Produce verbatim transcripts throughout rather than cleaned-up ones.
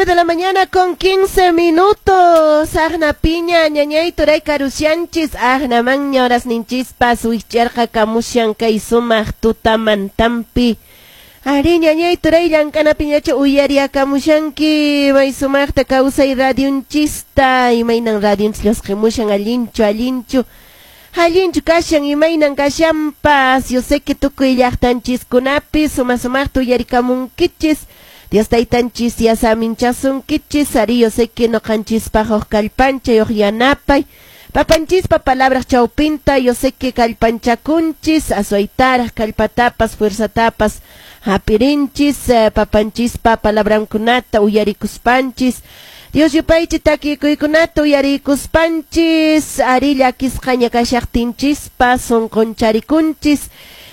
De la mañana con quince minutos. Agna piña, ñañay turay karushanchis, agna maña horas ninchispas, wich'arqa kamushan kay sumaq tutamantampi. Ari ñañay turay llank'ana piñacha uyariakamushanki, may sumaqta kawsay radionchista, imaynan radionchis llusqimushan allinchu, allinchu. Allinchu kashan imaynan kashanpas, yo sé que tukuy llaqtanchiskunapi suma sumaqta uyarikamunkichis. Dios taytanchis yasaminchasunkichis, ari yo sé que noqanchispaq huk kallpancha huk yanapay. Papanchispa palabras chawpinta, yo sé que kallpanchakunchis, aswaytaraq kallpatapas, fuerzatapas, hapirinchis, eh, papanchispa palabrankunata uyarikuspanchis. Dios yupaychi takikuykunata uyarikuspanchis, ari llakisqaña kashaqtinchispa sunquncharikunchis.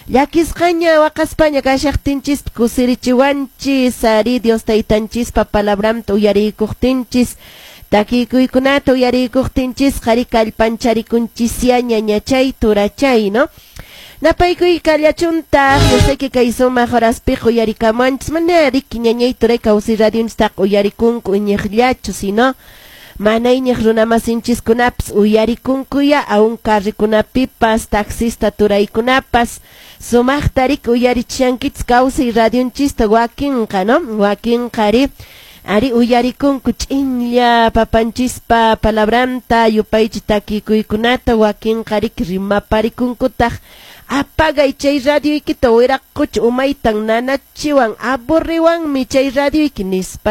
Llakisqaña waqaspaña kashaqtinchis kusirichiwanchis, ari Dios taytanchispa palabranta uyarikuqtinchis. Takikuykunata uyarikuqtinchis, qhari kallpancharikunchis ñañachay turachay, ¿no? Napaykuy kallachuntaq, yo sé que kay sumaq horaspiqa uyarikamuanchis, mana riki ñañay turay kawsay radionchistaqa uyarikunku iñiqllachu, sino mana iñiq runamasinchiskunapas uyarikunkuya, aún carrikunapipas, taxista turaykunapas, sumaqta riki uyarichishankichis kawsay radionchista wakinqa, ¿no? Wakinqa ari, ari uyarikunku ch'inlla papanchispa palabranta, yupaychi takikuykunata, wakinqa riki rimaparikunkutaq. Apagay chay radioykita wiraqucha umaytan nanachiwan, aburriwanmi chay radioyki nispa.